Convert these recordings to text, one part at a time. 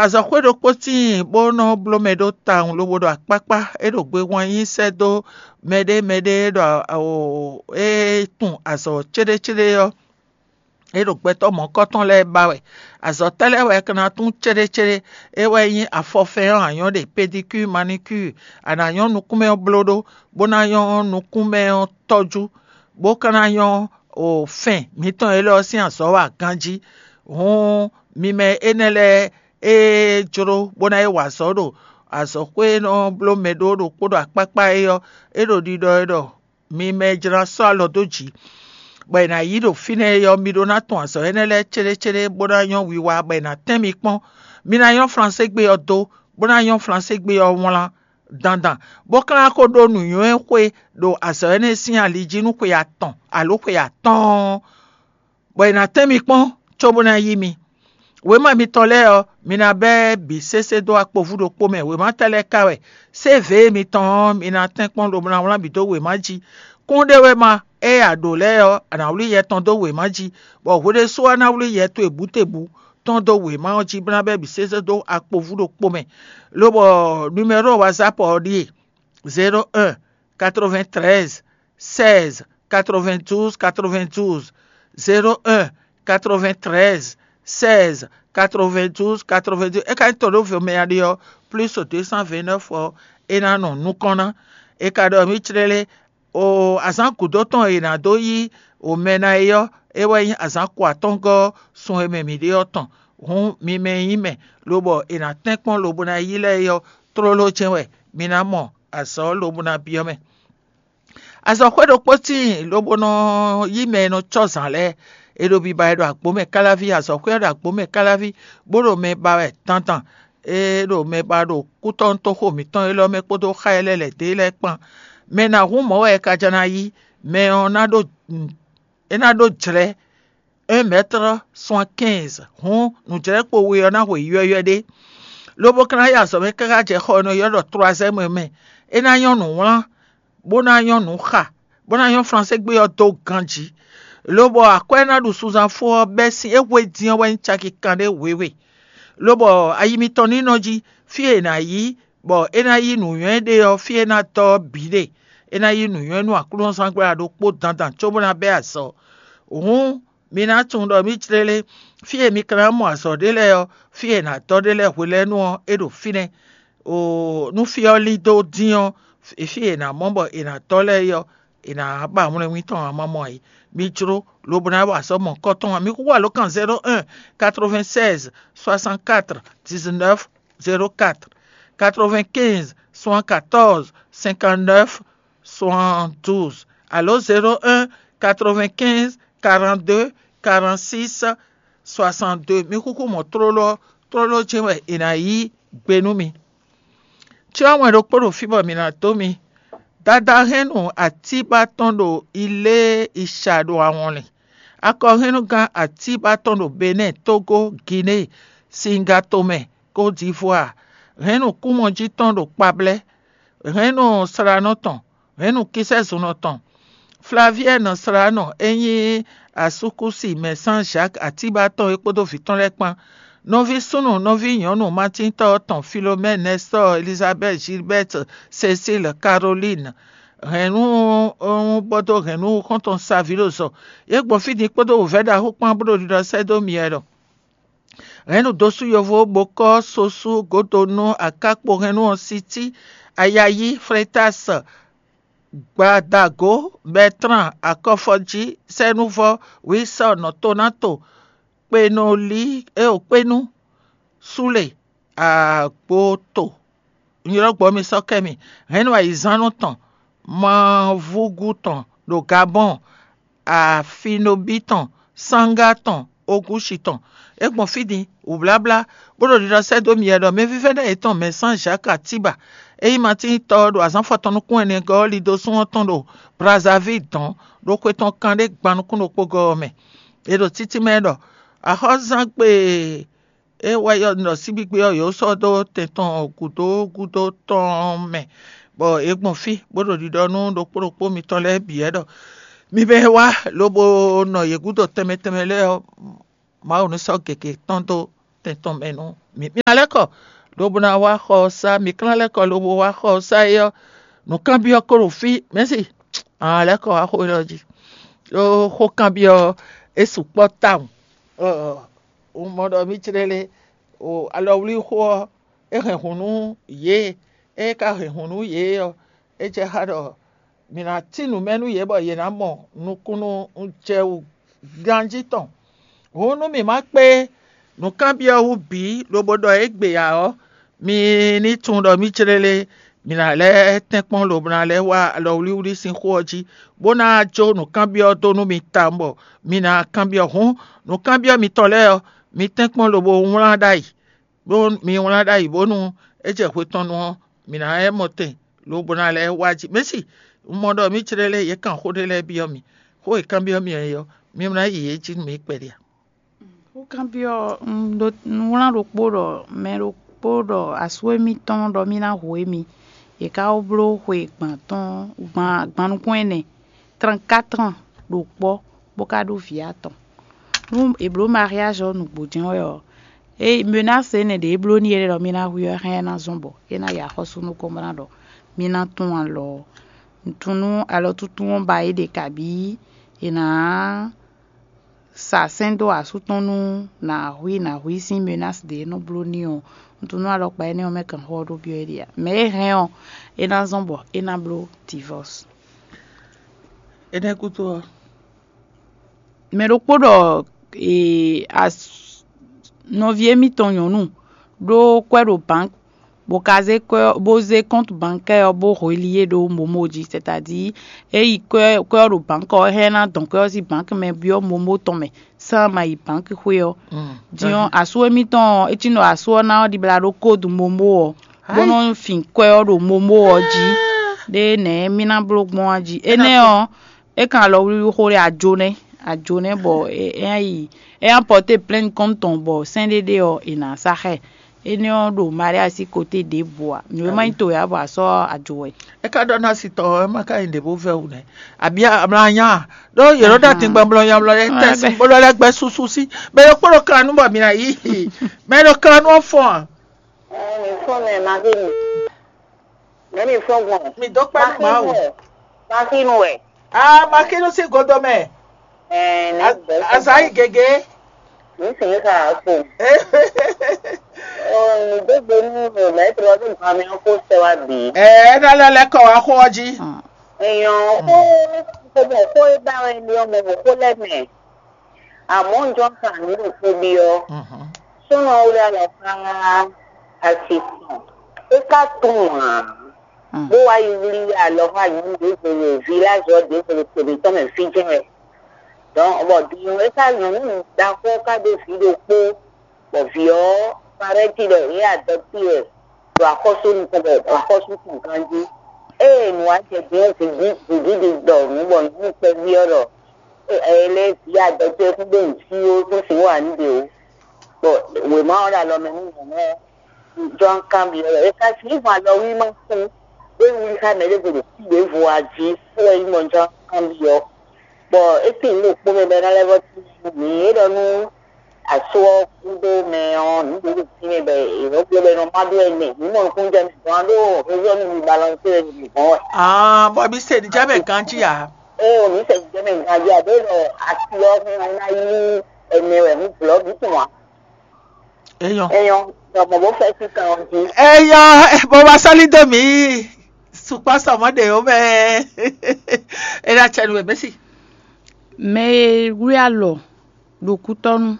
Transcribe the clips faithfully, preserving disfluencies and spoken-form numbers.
Azɔ̌xwé ɖokpó tíin bó nɔ́ bló mɛ ɖó tawun lobo ɖo akpákpá, é ɖo gbe hwan nyi sɛ́ dó mɛɖé mɛɖé e ɖo é tun azɔ̌ céɖécéɖé ɔ́, é ɖo gbɛtɔ́ mɔ̌kɔ́tɔn lɛ́ɛ ba wɛ. Azɔ̌ tɛ́ lɛ́ɛ wɛ è ka ná tún céɖécéɖé? É wɛ nyí afɔfɛn ɔ́, a nyɔ́ ɖe pédicure, manicure, a nǎ nyɔ́ nukúnmɛ ɔ́ bló ɖó, bó ná nyɔ́ nukúnmɛ ɔ́ tɔ́jú, bó ka ná nyɔ́ o fɛn mǐtɔn élɔ́ sín azɔ̌ wa ganjí. Hǔn mi mɛ énɛ́ lɛ́ɛ e jló bó ná yi wa azɔ̌ ɖo azɔ̌xwé e nɔ bló mɛ ɖó ɖokpó ɖo akpákpá é ɔ́, é ɖo ɖiɖɔ e ɖɔ mi mɛ e jló ná sɔ́ alɔ dó jǐ, bɔ è nǎ yí ɖo fínɛ́ é ɔ́, mi ɖó ná tun azɔ̌ énɛ́ lɛ́ɛ céɖécéɖé bó ná nyɔ́ wiwa, bɔ è nǎ tɛ́n mi kpɔ́n. Mi ná nyɔ́ Flanségbe ɔ́ dó, bó ná nyɔ́ Flanségbe ɔ́ wlán dandan, bó ka ná ko ɖó nǔnywɛ́xwé ɖo azɔ̌ énɛ́ sín ali jí nú xwe atɔn alo xwe atɔ́ɔ́n, bɔ è nǎ tɛ́n mi kpɔ́n cóbó ná yí mi. Wěma mitɔn lɛ́ɛ ɔ́, mi ná bɛ́ bǐ sésé dó akpovú ɖokpó mɛ. Wěma tɛ́ lɛ́ɛ ka wɛ? Sévě mitɔn ɔ́, mi ná tɛ́n kpɔ́n lobo ná wlán bǐ dó wěma jí. Kún ɖé wɛ ma, ée a ɖǒ lɛ́ɛ ɔ́, a nǎ wlí yɛ tɔn dó wěma jí, bɔ hwe ɖésú ɔ́ ná wlí yɛ towe bǔtebǔ tɔn dó wěma ɔ́ jí, bó ná bɛ́ bǐ sésé dó akpovú ɖokpó mɛ. Lobɔ numero WhatsApp ɔ́ ɖíe: zéro un, quatre-vingt-treize, seize, quatre-vingt-douze, quatre-vingt-douze, zéro un, quatre-vingt-treize, seize, quatre-vingt-douze, quatre-vingt-douze. É ka nyí tɔn ɖó vemɛ a ɖe ɔ́, plus deux cent vingt-neuf ɔ́, é ná nɔ nukɔn ná. É ka ɖɔ mǐ clélé, o azǎn gǔdo tɔn e è nǎ dó yí o mɛ ná é ɔ́, é wɛ nyí azǎn ko atɔ́ngɔ́ ɔ́, sun e mɛ mǐ ɖe ɔ́ tɔn. Hǔn mi mɛ e nyí mɛ, lobɔ è nǎ tɛ́n kpɔ́n lobo ná yí lɛ́ɛ é ɔ́, tlóló jɛ́n wɛ mi ná mɔ azɔ̌ lobo ná byɔ́ mɛ. Azɔ̌xwé ɖokpó tíin lobo nɔ yí mɛ e nɔ cɔ́ zǎn lɛ́ɛ. È ɖo biba wɛ ɖo agbǒ mɛ káláví, azɔ̌xwé ɔ́ ɖo agbǒ mɛ káláví, bó ɖo mɛ ba wɛ dandan. É ɖo mɛ ba ɖo kútɔ́nútóxo mǐtɔn élɔ́ mɛ kpódó xá e lɛ́ lɛ̌ dó é lɛ́ɛ kpán. Mɛ ná hun mɔ̌ wɛ è ka jɛ ná yí? Mɛ ɔ́ ná ɖó é ná ɖó jlɛ̌ un mètre soixante-quinze, hǔn nǔjlɛ́kpo we ɔ́ ná hwe ywɛ́ywɛ́ ɖé, lobo ka ná yi azɔ̌ mɛ káká jɛ xɔ e nɔ ylɔ́ ɖɔ troisième mɛ. É ná nyɔ́ nǔwlán, bó ná nyɔ́ nǔ xa, bó ná nyɔ́ Flanségbe ɔ́ dó ganjí, lobɔ akwɛ́ e ná ɖu sunzánfó ɔ́ bɛ́ sín é hwe dín ɔ́ wɛ nyí caki kanɖé wěwe. Lobɔ ayi mitɔn ní nɔ jí, fí e è nǎ yí, bɔ é ná yí nǔnywɛ́ ɖe ɔ́, fí e é ná dɔ́ ɔ́ bǐ ɖe. É ná yí nǔnywɛ́ nú aklúnɔzángbla ɖokpó dandan cóbó ná bɛ́ azɔ̌. Hǔn mi ná tunwun ɖɔ mǐ jlélé, fí e mi ka ná mɔ azɔ̌ ɖé lɛ́ɛ ɔ́, fí e è nǎ dɔ́ ɖé lɛ́ɛ hwe lɛ́ɛ nu ɔ́, é ɖo fínɛ́. Oo, nú fí ɔ́ lín dó dín ɔ́, fí e è nǎ mɔ bɔ è nǎ dɔ́ lɛ́ɛ é ɔ́, è nǎ ba wlɛnwí tɔn ǎ, ma mɔ ǎ. Mi jló lobo ná wa azɔ̌ mɔ̌hunkɔtɔn ǎ. Mi xúxú alǒkan zéro un, quatre-vingt-seize, soixante-quatre, dix-neuf, zéro quatre, quatre-vingt-quinze, soixante-quatorze, cinquante-neuf, soixante-douze, alo zéro un, quatre-vingt-quinze, quarante-deux, quarante-six, soixante-deux. Mi xúxú mɔ̌ tlóló ɔ́, tlóló jɛ́n wɛ è nǎ yí gbe nú mi. Cyɔ wɛn ɖokpó ɖo fí bɔ mǐ ná dó mi. Dada hɛn nú atíba tɔn ɖo Ilé Iṣa ɖo awɔnlin. Akɔhɛnnugán atíba tɔn ɖo Benɛ́ɛ, Tógó, Ginée, Singatomɛ, Kódivuaa. Hɛn nú kúmɔjí tɔn ɖo Kpablɛ́. Hɛn nú slánɔ tɔn. Hɛn nú kisɛ́zunɔ tɔn. Flaviɛ́nɔ slánɔ e nyí asúkúsi mɛ Sán Zǎk atíba tɔn é kpódó vǐ tɔn lɛ́ɛ kpán. Nɔví súnnu, nɔví nyɔ̌nu Matíntɔ́ tɔn Filomɛ́ɛ, Nɛstɔ́ɔ, Elizabɛ́ti, Gilbɛ́ti, Sesíl, Karolín, hɛ̌nnu bɔ́ dó hɛ̌nnu xɔ́ntɔn Savilozɔ. Yě gbɔn fí din kpódó wǔvɛ́ ɖaxó kpán bó ɖo ɖiɖɔ sɛ́ dó mi wɛ ɖɔ: Hɛ̌nnu dosú yovó, bokɔ́, sosú, godonú, akákpo hɛ̌nnu ɔ́, sití, ayayí, flétásɔ, gbadagǒ, bɛtlán, akɔfɔjí, sɛ́núvɔ, wísɔ, nɔtonáto, kpenolí, éo kpénú, súle, agboto, un ylɔ́ gbɔ mi sɔ́ kɛ mi, hɛ̌nnu ayǐzánnu tɔn, mavúgú tɔn ɖo Gabɔ́ɔn, afinobí tɔn, sánga tɔn, ogúsi tɔn. É gbɔn fí din, wǔbláblá, bó ɖo ɖiɖɔ sɛ́ dó mi wɛ ɖɔ mɛvívɛ́ná yětɔn mɛ Sán Zǎk Atíba, é nyí Matín tɔ ɔ́ ɖo azǎn afɔtɔn nukún ɛnɛ gɔ́ ɔ́, lido sún ɔ́ tɔn ɖo Brazavil dɔ̌n, ɖo xwe tɔn kanɖé gban nukún ɖokpó gɔ́ ɔ́ mɛ. È ɖo títí mɛ ɖɔ axɔ́zán gbe e wɛ yɔ nɔ síbígbe ɔ́, yǒ sɔ́ dó tɛn tɔn gǔdo gúdo tɔn mɛ, bɔ è gbɔn fí bó ɖo ɖiɖɔ nú ɖokpó ɖokpó mitɔn lɛ́ɛ bǐ wɛ ɖɔ: Mi mɛ e wá lobo nɔ yě gúdo tɛnmɛ tɛnmɛ lɛ́ɛ ɔ́, Mawu ní sɔ́ gěgé tɔn dó tɛn tɔn mɛ nú mǐ. Mǐ ná lɛ́ kɔ lobo ná wá xɔ ɔ́ sá, mǐ klán lɛ́ kɔ lobo wá xɔ ɔ́ sá é ɔ́, nǔkanbyɔ́ ko ɖo fí, mɛ̌si, a ná lɛ́ kɔ wá xó élɔ́ jí. Ɖó xó kanbyɔ́ ɔ́, é sukpɔ́ tawun. Un mɔ ɖɔ mǐ clé lé, alɔwlíxó ɔ́, é hɛn hǔn nú yě, é ka hɛn hǔn nú yě ɔ́, é jɛ xá ɖɔ mǐ ná cí nǔ mɛ nú yě bɔ yě ná mɔ nukúnnú jɛ wú ganjí tɔn. Hǔn nú mǐ ma kpé nǔkanbyɔ́ wú bǐ lobo ɖɔ égbé ǎ ɔ́, mi ní tunwun ɖɔ mǐ clélé mǐ ná lɛ́ tɛ́nkpɔ́n lobo ná lɛ́ wá alɔwlíwlí sín xó ɔ́ jí, bó ná jó nǔkanbyɔ́ dó nú mi tawun bɔ mi ná kanbyɔ́. Hǔn nǔkanbyɔ́ mitɔn lɛ́ɛ ɔ́, mi tɛ́nkpɔ́n lobo wlán ɖ'ayǐ, bó mi wlán ɖ'ayǐ bónú é jɛ hwe tɔn nu ɔ́, mǐ ná lɛ́ mɔ tɛn lobo ná lɛ́ wá jí. Mɛ̌si, un mɔ ɖɔ mǐ clélé yě kan xó ɖé lɛ́ɛ byɔ́ mì. Xó e kanbyɔ́ mì ɔ́ é ɔ́, mi ná yi yě jí nú mǐ kpɛɖé a? Xó kanbyɔ́ ɔ́, un ɖó un wlán ɖokpó ɖɔ mɛ ɖokpó ɖɔ asú émítɔn ɖɔ mì ná hu émí. Yě ká wó bló xwe gban tɔn gban gban nukún ɛnɛ, trɛ́nkátrɔn ɖo kpɔ́, bó ka ɖó vǐ atɔn. Nú è blǒ mariázi ɔ́ nǔgbó jɛ́n wɛ ɔ́, é menási énɛ́ ɖě é bló n'i é ɖɔ mì ná hu ɔ́ hɛn ná zɔ́n bɔ é ná yi axɔ́sú nukɔn bó ná ɖɔ mì ná tún alɔ ɔ́. Un tunwun nú alɔtúntún ɔ́ ba é ɖe kabǐ è nǎ sa sɛ́n dó asú tɔn nú nǎ hu i nǎ hu i sín menási ɖě e nɔ bló n'i ɔ́. Un tunwun nú alɔkpa énɛ́ ɔ́ mɛ kanxɔ ɔ́ ɖó byɔ́ é ɖe ǎ. Mɛ e hɛn ɔ́, é ná zɔ́n bɔ é ná bló divɔ́s. Énɛ́ gúdo ɔ́, mɛ ɖokpó ɖɔ ee, as- nɔví émítɔn nyɔ̌nu ɖó kwɛ́ ɖo bǎnk, bó ka zé kwɛ́ ɔ́- bó zé kɔ́ntu bankɛ́ ɔ́ bó hweli é ɖó momo jí, sɛtadi é yi kwɛ́ kwɛ́ ɔ́ ɖo bǎnk ɔ́, é hɛn ná dɔn kwɛ́ ɔ́ sín bǎnk mɛ byɔ́ momo tɔn mɛ, sán ma yi bǎnk xwé ɔ́. Din ɔ́, asú émítɔn ɔ́, é cí nɔ asú ɔ́ ná ɔ́ ɖibla ɖó kódu momo ɔ́, bó nɔ́ fin kwɛ́ ɔ́ ɖo momo ɔ́ jí. Ɖé nɛ̌ mì ná bló gbɔn á jí? Énɛ́ ɔ́, é kan alɔwlíwlí xó ɖé ajo nɛ́, ajo nɛ́ bɔ é é ná yi é ná pɔté plɛ́n kɔ́n tɔn bɔ sɛ́n ɖé ɖé ɔ́, è nǎ sa xá ɛ. Énɛ́ ɔ́ ɖo Maria sín koté ɖěbǔ ǎ. Nǔ e má nyí to ǎ bɔ a sɔ́ ajo wɛ. É ka ɖɔ ná si tɔ ɔ́, é má ka nyí ɖě bó vɛ́ wú nɛ́. Abǐ amlanya ɖó yě nɔ ɖo atingban blɔ nyablɔ lɛ́ɛ tɛ́ sín bó lɔ lɛ́ gbɛ́ súsú sí. Mɛ ɖokpó ɖo kan nú bɔ mǐ ná yí. Mɛ ɖo kan nú ɔ́ fɔ́n a? Ɛɛ, mi fɔ́n mɛ, ma ví mi. Mɛ mi fɔ́n gbɔn. Mi dó kpɛ́ nú Mawu. Maxinu wɛ. Aa, Maxinu sín godo mɛ. Ɛɛ, ne A- gbɛ. Azayi gege. Mi sìn ka ko. Ɔ, mi dó gbe nú mi mɛ tó lɔ dó nǹkan mi kó sɛ wá bì. Ɛɛ, é ná lɛ́ lɛ́ kɔ wá xó ɔ́ jí. Èèyàn kó kó mọ̀ kó é bá wɛ ní ọmọ mọ̀ kó lẹ́mẹ̀. Àmọ́ ǹjọ́ kan ní òkú bí ọ. Súnà ó lé alɔ ká àsìkò. É ká tún wàn án. Bó wá yi wlí alɔ ká yìí ní ìdíje village ɔ́ dé kele kele tɔn mɛ fí jẹ́ wɛ. Donc, bɔ din ɔ́, é ká nyɔ̌nu ɖaxó ká ɖó vǐ ɖokpó, bɔ vǐ ɔ́, paraît-il, é adopté ɛ ɖo axɔ́sú nukɔn bɔ axɔ́sú tun ganjí. Ée nǔ wá jɛ din ɔ́, vǐví ɖi ɖɔ nǔ bɔ nyɔ̌nu kpɛví ɔ́ ɖɔ é lɛ́ vǐ adɔtɔ́ kún ɖó nǔ cí ó kún sixú wa nǔ ɖe ó. Bɔ wěma ɔ́ ɖo alɔ mɛ nú nyɔ̌nu ɔ́, jɔ́n kanbyɔ́ lɔ. É ka sixú hɔn alɔwlímá kún, bó yi wlí xá mɛ ɖěvo ɖo fí ɖěvo a jí, fó wɛ nyí mɔ jɔ́n kanbyɔ́. Bɔ é tín nǔ ɖokpó mɛ bɔ é ná lɛ́ vɔ́ tín nú mǐ. É ɖɔ nú asú ɔ́ kúdó mɛ ɔ́, nǔ ɖě ɖo fínɛ́ bɔ è nɔ bló bɔ è nɔ má ɖó ɛnɛ. Mǐ mɔ nukúnnú jɛ mǐ gɔ́n ɖó rézɔ́ nú mi balɔn tó wɛ mǐ gɔ́n wɛ. Ah, bɔ mi se nijɛ mɛ ganji a? Ée o, mǐ se nijɛ mɛ ganji a, ɖě ɖɔ asi ɔ́ hɛn ɔ́ ná yí ɛnɛ wɛ mǐ blɔ̌ mǐ tunwun a? Eyɔn. Eyɔn, ɖɔ mɔ bó fẹ́ sí kan ɔ́ jí. Eyɔn, bó wá sɔ́lí dó mǐ. Sukpɔ́ sɔmɔ́ ɖe ó mɛ. É ná cɛ nú wɛ mɛ́si. Mɛ e wlí alɔ ɖo kútɔ́nú,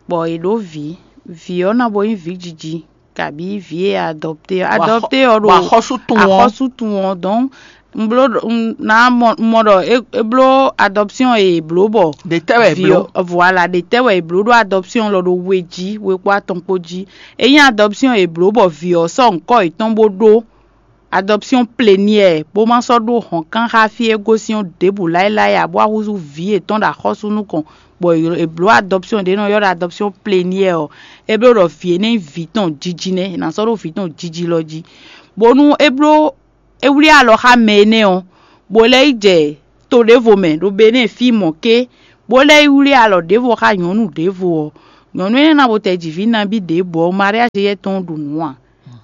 bɔ è ɖǒ vǐ. Vǐ ɔ́ ná bo nyí vǐ jiji, kabǐ vǐ e adɔpté ɔ́. Adɔpté ɔ́ ɖo axɔ́sú tun ɔ́. Axɔ́sú tun ɔ́, donc un bló un ná mɔ un mɔ ɖɔ é é bló adɔption e è bló bɔ ɖe tɛ wɛ è vǐ bló. Ɔ́, voilà, ɖe tɛ wɛ è bló ɖó adɔption lɔ ɖo we jí, we kpó atɔn kpó jí. Ényí adɔption e è bló bɔ vǐ ɔ́ sɔ́ ŋkɔ́ yětɔn bó ɖó adɔption plénière bó ma sɔ́ ɖó hɔ̌nkán xá fí e gosín ɔ́ ɖěbǔ láéláé ǎ, bó wá húzú vǐ yětɔn ɖo axɔ́sú nukɔn, bɔ è bló adɔption ɖě nɔ ylɔ́ ɖɔ adɔption plénière ɔ́, é bló ɖɔ vǐ énɛ́ nyí vǐ tɔn jiji nɛ́, è nǎ sɔ́ ɖó vǐ tɔn jiji lɔ jí. Bónú é bló é wlí alɔ xá mɛ énɛ́ ɔ́, bó lɛ́ yi jɛ to ɖěvo mɛ ɖo Benɛ́ɛ fí mɔ̌ ké, bó lɛ́ yi wlí alɔ ɖěvo xá nyɔ̌nu ɖěvo ɔ́, Nyɔ̌nu énɛ́ ná bo tɛ ji vǐ nabí ɖěbǔ ɔ́, mariage yɛ tɔn ɖu nǔ a?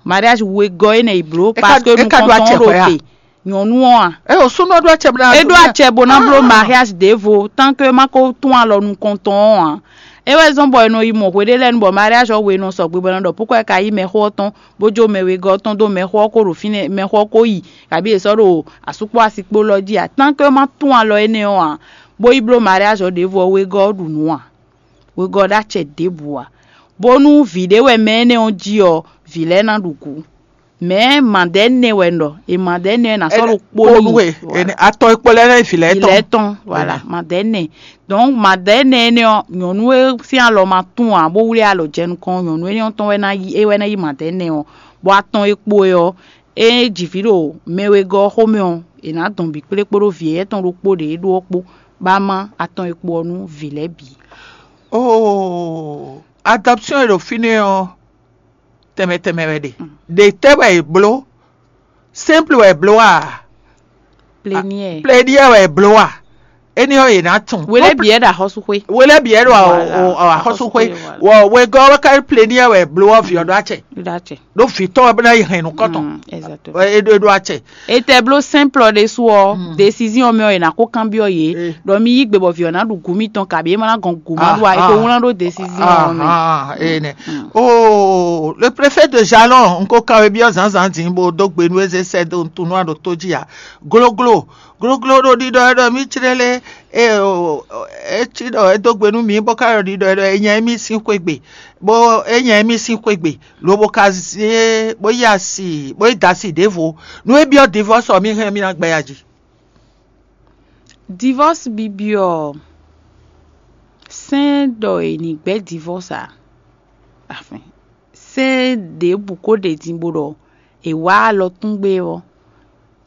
Mariage wegɔ́ énɛ́ yi bló, parce que nukɔntɔn ɖo te. Nyɔ̌nu ɔ́ a? É o súnɔ ɖó acɛ bó ná. É ɖó acɛ bó ná bló mariage ɖěvo, tant que é ma ko tún alɔ nukɔntɔn ɔ́ ǎ. É wɛ zɔ́n bɔ è nɔ yi mɔ hweɖé lɛ́ɛ nu bɔ mariage ɔ́ we nɔ sɔgbe bɔ è nɔ ɖɔ púkɔ é ka yí mɛxó ɔ́ tɔn, bó jó mɛ wegɔ́ tɔn dó mɛxó ɔ́ ko ɖo fínɛ́, mɛxó ɔ́ ko yi, kabí è sɔ́ ɖo asú kpó asi kpó lɔ jí ǎ. Tant que é ma tún alɔ énɛ́ ɔ́ ǎ, bó yi bló mariage ɔ́ ɖěvo ɔ́, wegɔ́ ɔ́ ɖu nǔ ǎ. Wegɔ́ ɖó acɛ ɖěbǔ ǎ. Bónú vǐ ɖé wɛ mɛ énɛ́ ɔ́ jí ɔ́, vǐ lɛ́ɛ ná ɖu gǔ. Mɛ̌ madɛ̌ nɛ wɛ un ɖɔ? E madɛ̌ nɛ wɛ nǎ sɔ́ ɖo kpó n'i. Atɔn e kpo lɛ́ɛ nɛ́ vǐ lɛ́ɛ tɔn. Vǐ lɛ́ɛ tɔn, voilà, madɛ̌ nɛ. Donc madɛ̌ nɛ énɛ́ ɔ́, nyɔ̌nu e sín alɔ ma tún ǎ, bó wlí alɔ jɛ nukɔn, nyɔ̌nu énɛ́ ɔ́ tɔn wɛ ná yí, é wɛ ná yí madɛ̌ nɛ ɔ́. Bɔ atɔn e kpo e ɔ́, é ji vǐ ɖo mɛ wegɔ́ ɔ́ xomɛ ɔ́, è nǎ dɔn bǐ kplé kpódó vǐ éyɛ́ tɔn ɖokpó ɖě é ɖó ɔ́ kpó, bó ná má atɔn e kpo ɔ́ nú vǐ lɛ́ɛ bǐ. Oo, adɔpsiɔn e ɖo fínɛ́ ɔ́, tɛnmɛ tɛnmɛ wɛ ɖe. Ɖe tɛ́ wɛ è bló? Simple wɛ è bló a? Plénière. Plénière wɛ è bló a? Éní ɔ́, è nǎ tunwun. Wele bǐ ɛ ɖo axɔ́súxwé. Wele bǐ ɛ ɖo axɔ́súxwé. Wɔ wegɔ́ wɛ ká plénière wɛ è bló ɔ́, vǐ ɔ́ ɖó acɛ. Ɖó acɛ. Ɖó vǐ tɔn wɛ bó ná yi hɛn nukɔn tɔn. Exactement. É ɖó é ɖó acɛ. Etɛ bló simple ɖésú ɔ́, décision mɛ ɔ́, è nǎ ko kanbyɔ́ yě, ɖɔ mi yí gbe bɔ vǐ ɔ́ ná ɖu gǔ mitɔn, kabǐ é ma ná gɔn gǔ ma ɖu ǎ, è ko wlán ɖó décision ɔ́ mɛ. Ahan, ene. Oh, le préfet de Jalon, un ko kan we byɔ́ zǎnzǎn din bó dó gbe nú ézé sɛ́ dó nutunu ɖo tó jí ǎ. Gloglo, gloglo ɖo ɖiɖɔ ɛ ɖɔ mí clélé, é cí ɖɔ é dó gbe nú mǐ bó ka ɖɔ ɖiɖɔ ɛ ɖɔ é nya émí sín xwé gbe, bó é nya émí sín xwé gbe, lobo ka zé bó yi asi, bó yi da asi ɖěvo. Nú é byɔ́ divɔ́sɔ mí hɛn mí ná gbɛ ya jí. Divɔ́s bibyɔ ɔ́, sɛ́n ɖɔ è nǐ gbɛ́ divɔ́s ǎ. Afin sɛ́n ɖěbǔ ko ɖe din bó ɖɔ è wǎ alɔ tún gbé ɔ́,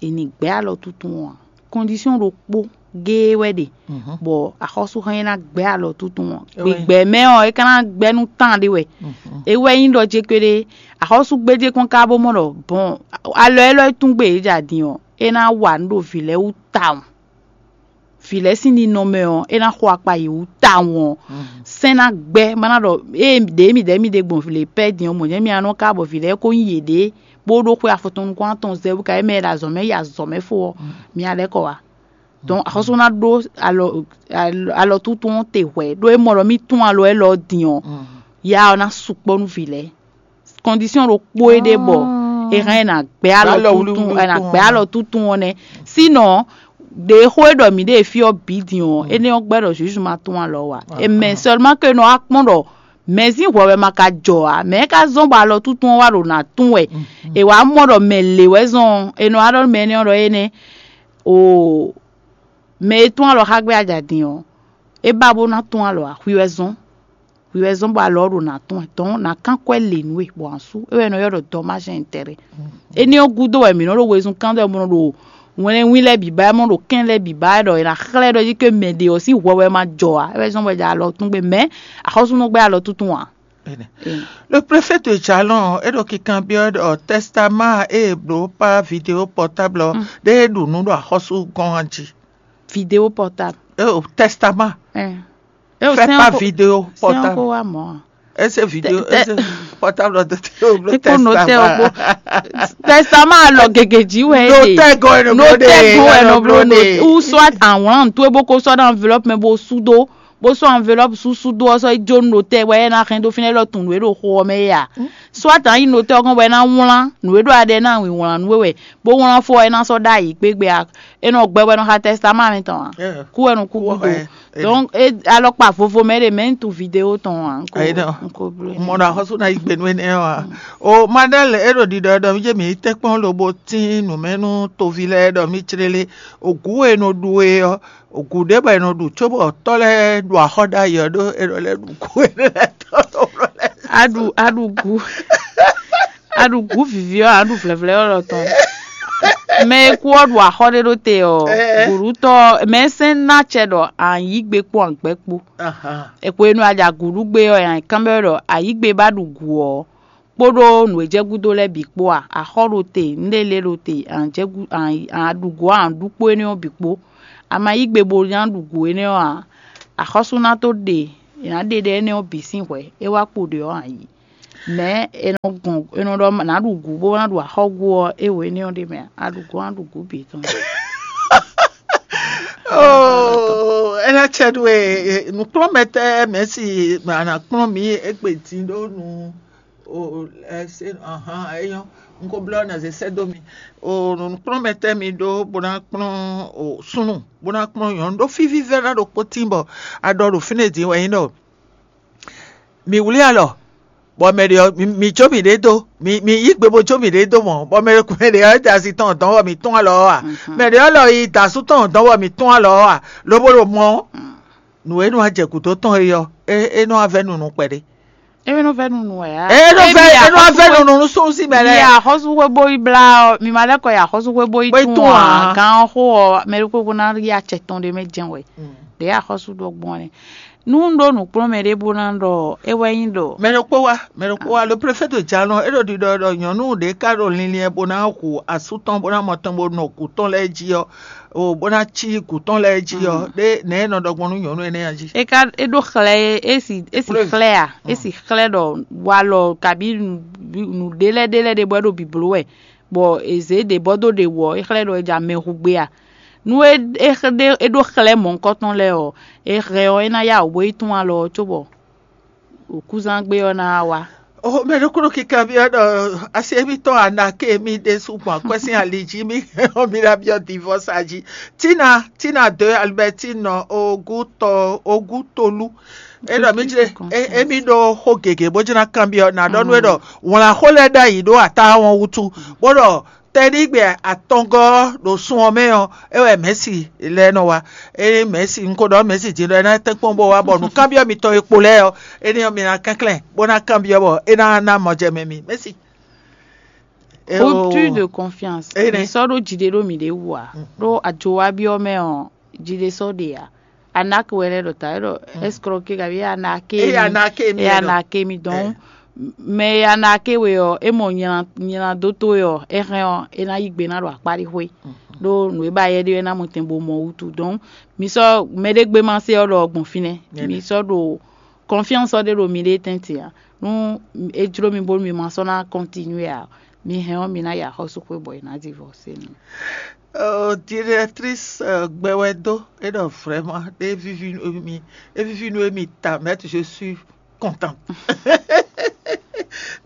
è nǐ gbɛ́ alɔ tuntun ɔ́ ǎ. Kɔndisɔ́n ɖokpó géé wɛ ɖe, bɔ axɔ́súxán e ná gbɛ́ alɔ tuntun ɔ́, gbigbɛ mɛ ɔ́, é ka ná gbɛ́ nú tán ɖé wɛ. É wɛ nyí ɖɔ ce kpéɖé, axɔ́súgbéjé kpɔ́n ka bó mɔ ɖɔ bɔn alɔ élɔ́ e tún gbe yě ja din ɔ́, é ná wa nǔ ɖo vǐ lɛ́ɛ wú tawun. Vǐ lɛ́ɛ sín ninɔmɛ ɔ́, é ná xo akpa yě wú tawun ɔ́, sɛ́n ná gbɛ́, má ná ɖɔ ée ɖě mǐdɛɛ mì ɖe gbɔn vǐ lě pɛ́ din ɔ́, mɔ̌ jɛ́n mi ná nɔ ka bɔ vǐ lɛ́ɛ ko nyí yěɖée, bó ɖó xwé afɔtɔn nukún atɔn zɛ wú ka é mɛ e ɖo azɔ̌ mɛ yi azɔ̌ mɛ fó ɔ́, mi ná lɛ́ kɔ wá. Donc axɔ́sú ná ɖó alɔ alɔ túntún ɔ́ te hwɛ̌, ɖó é mɔ ɖɔ mì tún alɔ élɔ́ din ɔ́, ya ɔ́ ná sukpɔ́ nú vǐ lɛ́ɛ. Kɔndisɔ́n ɖokpó é ɖe bɔ è hɛn ɛ nǎ gbɛ́ alɔ túntún, è nǎ gbɛ́ alɔ túntún ɔ́ nɛ́. Sínɔ ɖě xó e ɖɔ mǐ ɖe fí ɔ́ bǐ din ɔ́, énɛ́ ɔ́ gbɛ́ ɖɔ Jezu ma tún alɔ wǎ. È mɛ seulement que nɔ wá kpɔ́n ɖɔ mɛ̌ sín hwɛ wɛ ma ka jɔ ǎ, mɛ̌ ka zɔ́n bɔ alɔ túntún ɔ́ wá ɖo nǎ tún wɛ. È wǎ mɔ ɖɔ mɛ lě wɛ zɔn ɔ́, è nɔ wá ɖɔ nú mɛ énɛ́ ɔ́ ɖɔ énɛ́ o mɛ e tún alɔ xá gbé ajǎ din ɔ́, é ba bó ná tún alɔ ǎ, hwi wɛ zɔ́n. Hwi wɛ zɔ́n bɔ alɔ ɔ́ ɖo nǎ tún wɛ, dɔ̌n nǎ kán kwɛ́ lě nú we, bɔ a sú. É wɛ è nɔ ylɔ́ ɖɔ dɔ́mázi ɛntɛ́rɛ. Énɛ́ ɔ́ gúdo wɛ mǐ nɔ ɖo wezun kán dó wɛ bó nɔ ɖo wɛnlɛ́nwín lɛ́ɛ bǐ ba wɛ, bó nɔ ɖo kɛ́n lɛ́ɛ bǐ ba wɛ ɖɔ è nǎ xlɛ́ ɖɔ jí ké mɛ ɖě ɔ́ sín hwɛ wɛ ma jɔ ǎ. É wɛ zɔ́n bɔ è jɛ alɔ tún gbe, mɛ̌ axɔ́súnɔ gbɛ́ alɔ túntún ǎ. Le préfet de Jalon é ɖo kinkanbyɔ́ ɖɔ tɛstamá e è blǒ pá vidéo pɔtáblɔ ɖé e ɖu nǔ ɖo axɔ́sú gɔ́n ɔ́ jí. Vidéo pɔtáblɔ. Tɛstamá. Fais pas vidéo portable. Ese video, ese portable de te o blo testament. Testament alɔ gege jí wɛ. Notɛ gɔn eno blo de. Notɛ gɔn eno blo de. Ou soit en wlan tu e boko sɔ dans enveloppe mais bo sudo. Bo sɔ enveloppe su sudo sɔ ijo notɛ wɛ na hɛn do fine lɔ tun we do xo mɛ ya. Soit an yi notɛ gɔn wɛ na wlan nu e do adɛ na wi wlan nu wɛ. Bo wlan fo wɛ na sɔ da yi gbegbe a. E nɔ gbɛ wɛ nɔ xa testament mi tɔn. Ku wɛ nɔ ku gudo. Donc e alɔkpa vovo mɛ ɖe mɛ n tu vidéo tɔn a. N ko blo. Mɔ na xɔsu na yi gbe nu ene wa. O madal e ɖo ɖiɖɔ ɖɔ mi je mi tɛ kpɔn lobo tin numɛnu tovi lɛ ɖɔ mi clele. Ogu e nɔ ɖu e ɔ, ogu ɖe bɔ e nɔ ɖu cóbɔ tɔ lɛ ɖu axɔ ɖ'ayǐ ɔ ɖo e nɔ lɛ ɖu gu e lɛ tɔ ɖo lɛ. Aɖu aɖu gu. Aɖu gu vivi ɔ aɖu vlɛvlɛ ɔ lɔ tɔn. Mɛ e kú ɔ ɖu axɔ ɖe ɖo te ɔ, gǔɖutɔ mɛ sɛn ná cɛ ɖɔ an yí gbe kpó an gbɛ kpó. Hwenu a ɖi agǔɖugbe ɔ, an kanbyɔ́ ɖɔ a yí gbe bá ɖu gǔ ɔ, kpódó nǔ e jɛ gúdo lɛ́ɛ bǐ kpó a? Axɔ ɖo te, nǔɖé lě ɖo te, an jɛ gú an an ɖu gǔ an ɖu kpó énɛ́ ɔ́ bǐ kpó. A ma yí gbe bo ná ɖu gǔ énɛ́ ɔ́ ǎ. Axɔ́sú ná tó ɖe è nǎ ɖe ɖɛ énɛ́ ɔ́ bǐ sín hwɛ̌, é wá kpo ɖě ɔ́ ǎ yi. Mɛ̌ è nɔ gɔn è nɔ ɖɔ nǎ ɖu gǔ bó ná ɖu axɔ́gú ɔ́, é wǒ énɛ́ ɔ́ ɖ'é mɛ ǎ, a ɖu gǔ ɔ́, ná ɖu gǔ bǐ tɔn. Oh, é ná cɛ nú we. Nǔkplɔ́nmɛtɛ́ mɛ̌si a nǎ kplɔ́n mǐ égbé din ɖó nu. O, ɛ, se, ahan, é nyɔ́. Un ko blɔ́ ná zé sɛ́ dó mi. O, nǔkplɔ́nmɛtɛ́ mi ɖó bó ná kplɔ́n o súnnu, bó ná kplɔ́n nyɔ̌nu ɖó fí vívɛ́ná ɖokpó tín bɔ a ɖɔ ɖo fínɛ́ din wɛ nyí ɖɔ mi wlí alɔ, bɔ mɛ ɖě ɔ́, mi- mi jó mǐɖée dó, mi mi yí gbe bó jó mǐɖée dó mɔ̌, bɔ mɛ mɛ ɖě ɔ́ da asi tɔn dɔn bɔ mǐ tún alɔ ɔ́ a? Mɛ ɖě ɔ́ lɔ yi da asú tɔn dɔn bɔ mǐ tún alɔ ɔ́ a? Lobo ɖo mɔ ɔ́, nǔ e nɔ wá jɛ gǔdo tɔn é ɔ́, é é nɔ wá vɛ́ nunu kpɛɖé. Emi nɔ vɛ nunu wɛ ya. É nɔ vɛ é nɔ wá vɛ́ nunu nú súnnu sín mɛ Yi lɛ́ɛ. Axɔ́súxwé bó yi blá ɔ, mi ma lɛ́ kɔ yi axɔ́súxwé bó yi Bó yi tún tún ɔ, ǎ. Gán ɔ́ xó ɔ, mɛ ɖokpó ná yi acɛ tɔn ɖé mɛ jɛn wɛ. Ɖě axɔ́sú ɖɔ gbɔn nɛ. Nú un ɖó nǔkplɔ́nmɛ ɖé bó ná ɖɔ é wɛ nyí ɖɔ. Mɛ ɖokpó wá, mɛ ɖokpó wá, le préfet de Jalɔn é ɖo ɖiɖɔ ɖɔ nyɔ̌nu ɖě ká ɖo linlin bó ná hu asú tɔn bó ná mɔ tɔn bó nɔ kú tɔn lɛ́ɛ jí ɔ́, o bó ná cí gǔ tɔn lɛ́ɛ jí ɔ́, ɖé nɛ̌ e nɔ ɖɔ gbɔn nú nyɔ̌nu énɛ́ a jí? É ká é ɖó xlɛ́ é é si é si Preuve. Xlɛ́ a é si xlɛ́ ɖɔ walɔ kabí nǔ- nǔɖé lɛ́ɛ ɖé lɛ́ɛ ɖé bɔ é ɖo bǐbló wɛ, bɔ è zě ɖě bɔ dó ɖě wɔ é xlɛ́ ɖɔ é ja mɛ hu gbé a. Nú é é xlɛ́ é ɖó xlɛ́ mɔ̌hunkɔtɔn lɛ́ɛ ɔ́, é hɛn ɔ́ é ná yá wǔ bó yi tún alɔ ɔ́ cóbɔ wǔkúzán gbé ɔ́ ná wá. O mɛ ɖokúnɔ kíkan byɔ́ ɖɔ asi émítɔn anake mì ɖésú gbɔn akwɛ́ sín ali jí mì hɛn ɔ́ mi ná byɔ́ divɔsa jí. Tina Tina de Albertine Ogutɔ Ogutolu é ɖɔ mí jlé émí ɖó xó gěgé bó jlá kanbyɔ́ ná ɖɔ nú é ɖɔ wlǎn xó lɛ́ɛ ɖ'ayǐ ɖó atá wɔn wútu bó ɖɔ tɛnígbe atɔngɔ́ ɖo sun ɔ́ mɛ ɔ́ é wɛ mɛ̌si lɛ́ɛ nɔ wá. Ényí mɛ̌si un ko ɖɔ mɛ̌si din ɖɔ é ná tɛ́nkpɔ́n bó wá bɔ nǔkanbyɔ́ mitɔn e kpo lɛ́ɛ ɔ́, énɛ́ ɔ́ mi ná kɛnklɛ́n bó ná kanbyɔ́ bɔ é ná ná mɔjɛmɛ mi. Mɛ̌si. Rupture de confiance. Énɛ́. Mi sɔ́ ɖó jiɖe ɖó mǐɖée wú ǎ. Ɖó ajowabyɔ́ mɛ ɔ́, jiɖe sɔ́ ɖe ǎ. Anak wɛ lɛ́ ɖɔ ta é ɖɔ escroquer kabi anake. Eye anake mi Eye anake mi donc mɛ e anake we ɔ́ é mɔ nylan nylan dó towe ɔ́ é hɛn ɔ́ é ná yí gbe ná ɖo akpáɖixwé. Ɖó nǔ e ba yɛ ɖe é ná mɔ tɛn bo mɔ wútu donc mi sɔ́ mɛɖé gbé ma se ɔ́ ɖɔ gbɔn fínɛ́. Mi sɔ́ ɖo confiance ɔ́ ɖe ɖo miɖée tɛ́ntin ǎ. Nú é jló mi bónú mi ma sɔ́ ná continuer ǎ, mi hɛn ɔ́ mi ná yi axɔ́súxwé bɔ è nǎ divorce mi. Directrice gbɛwɛdo é ɖɔ vraiment ɖé vivi nú mi é vivi nú émi ta mais je suis content.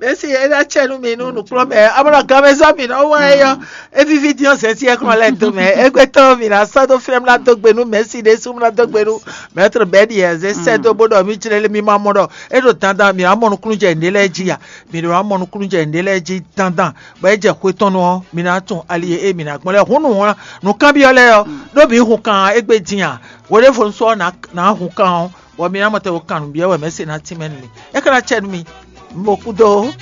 Mɛsi é ná tsɛ nú mi nú nukplɔ́mɛ amɔ́nɔ gamɛzɔ́ mi nɔ wá é yɔ é vivi dín ɔ́ zɛ́n sí ɛ kɔn lɛ do mɛ égbé tɔn mi ná sɔ́ dó flɛ́m ná dó gbe nú mɛsi ɖé sú ná dó gbe nú mɛtr bɛ́ni ɛ zé sɛ́ dó bó ɖɔ mi jlé mi ma mɔ ɖɔ é ɖo dandan mi ná mɔ nukúnnú jɛ nǔɖé lɛ́ɛ jí ya mi ɖo ná mɔ nukúnnú jɛ nǔɖé lɛ́ɛ jí dandan bɔ é jɛ xwe tɔn nu ɔ́ mi ná tún ali e mi ná gbɔn lɛ hún nǔ wlán nǔkanbyɔ́ lɛ́ɛ ɔ́ ɖó mi hun kan égbé dín a hweɖévonu sɔ́ ná hun kan ɔ́ bɔ mi ná mɔ tɛn wo kan nǔ byɔ́ wɛ mɛ̌ se ná tínmɛ nú mi é ka ná cɛ nú mi mo kú dó